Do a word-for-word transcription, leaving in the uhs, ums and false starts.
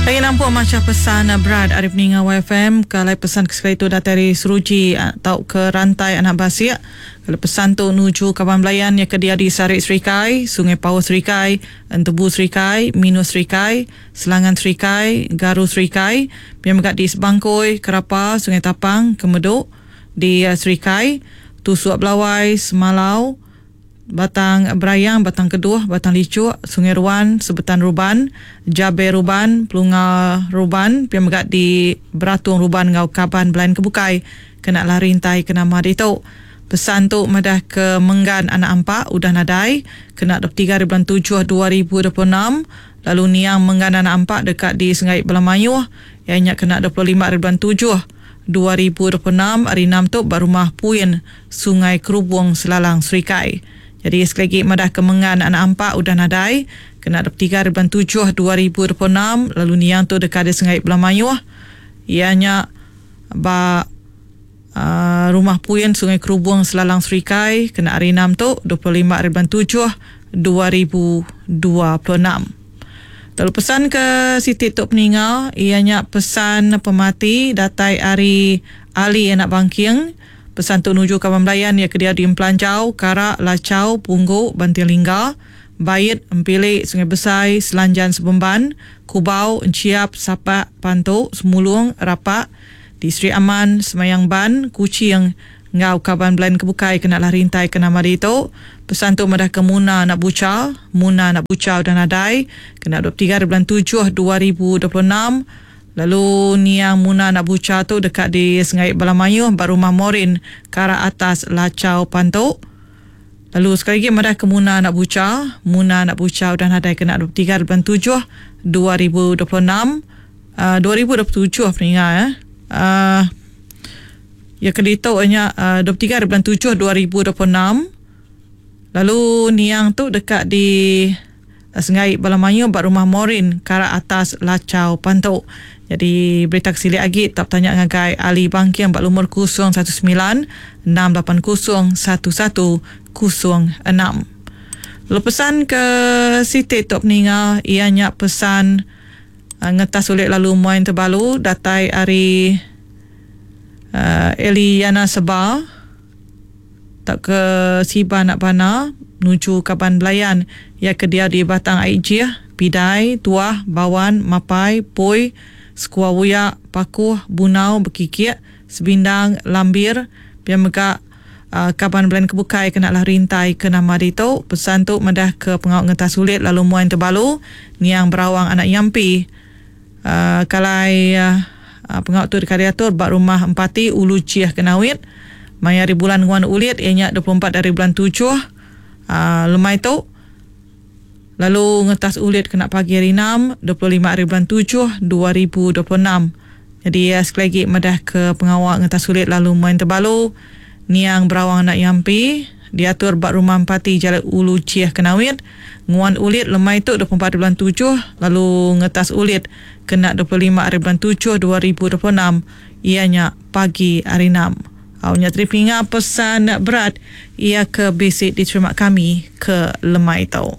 Lagi nampuk macha pesan berat ari peninga Y F M. Kalau pesan ke sekali tu datai dari Seruji atau ke Rantai Anak Basik. Kalau pesan tu nuju kaban belayan yang ke dia di Sarik Serikai, Sungai Pau Serikai, Entebu Serikai, Minus Serikai, Selangan Serikai, Garu Serikai, biar mega di Sebangkoi, Kerapa, Sungai Tapang, Kemeduk, di Serikai, Tusuk Belawai, Semalau, Batang Berayang, Batang Keduh, Batang Licuk, Sungai Ruan, Sebetan Ruban, Jabe Ruban, Pelunga Ruban, pia mega di Beratung Ruban ngau kaban belayan kebukai kena lari rintai ke nama ditu. Pesan tu madah ke Menggan Anak Ampak udah nadai kena dua puluh tiga bulan tujuh dua ribu dua puluh enam, lalu niang Menggan Anak Ampak dekat di Sungai Belamayuh ianya kena dua puluh lima bulan tujuh dua ribu dua puluh enam hari enam tu ba rumah Puin, Sungai Kerubung, Selalang Serikai. Jadi sekali lagi madah ke Mengan Anak Ampak udah nadai kena dua puluh tiga bulan tujuh dua ribu dua puluh enam, lalu niang tu dekat di Sungai Belamayuh ianya ba uh, rumah Puin, Sungai Kerubung, Selalang Serikai kena hari enam tu dua puluh lima bulan tujuh dua ribu dua puluh enam. Lalu pesan ke Siti Tok Peninga ianya pesan pemati datai ari Ali Anak Bangking. Pesan tu nuju kaban belayan ya ke dia di Empelanjau, Karak, Lacau, Punggu, Banting Lingga, Bait, Empilik, Sungai Besai, Selanjan Sebemban, Kubau, Enciap, Sapak, Pantu, Semulung, Rapak, di Sri Aman, Semayang Ban, Kuching, ngau kaban belayan kebukai kena lah rintai ke nama itu. Pesan tu madah ke Muna Nak Buca, Muna Nak Buca udah nadai, kena dua puluh tiga bulan tujuh dua ribu dua puluh enam. Lalu niang Muna Nak Buca tu dekat di Sungai Balamayuh, ba rumah Morin, Karak Atas, Lacau, Pantu. Lalu sekali lagi madah ke Muna Nak Buca, Muna Nak Buca udah nadai kena dua puluh tiga bulan tujuh dua ribu dua puluh enam. Uh, dua ribu dua puluh tujuh peninga ya. Uh, ya ke ditu nya uh, dua puluh tiga bulan tujuh dua ribu dua puluh enam. Lalu niang tu dekat di uh, Sungai Balamayu ba rumah Morin, Karak Atas, Lacau, Pantu. Jadi berita kesilik lagi tak tanya ngagai Ali Bangkiang bak lumur kosong satu sembilan enam lapan kosong satu satu kosong enam. Lalu pesan ke Siti Tok Peninga ianya pesan uh, ngetas ulit lalu muain terbalu datai ari uh, Eliana Seba tak ke Siba Nak Bana nuju kaban belayan ya ke dia di Batang Aijih, Pidai, Tuah, Bawan, Mapai, Poi, Sekua Wuyak, Pakuh, Bunau, Bekikik, Sebindang, Lambir, biar mega uh, kaban belayan kebukai kena lah rintai ke nama ditu. Pesan tu madah ke pengawak ngetas sulit lalu muain terbalu niang Berawang Anak Yampi. Uh, kalai uh, pengawak tu dikariatur bak rumah Empati Ulu Ciah Kenawit. Maya hari bulan nguan ulit ianya dua puluh empat dari bulan tujuh uh, lemai tu. Lalu ngetas ulit kena pagi hari enam dua puluh lima hari bulan tujuh dua ribu dua puluh enam. Jadi ya, sekali lagi madah ke pengawak ngetas ulit lalu main terbalu niang Berawang Anak Yampi diatur bak rumah Empati Jalan Ulu Ciah Kenawit nguan ulit lemai tu dua puluh empat bulan tujuh, lalu ngetas ulit kena dua puluh lima hari bulan tujuh dua ribu dua puluh enam ianya pagi hari enam. Awalnya terima pesan berat ia ke basic diterima kami ke lemai tu.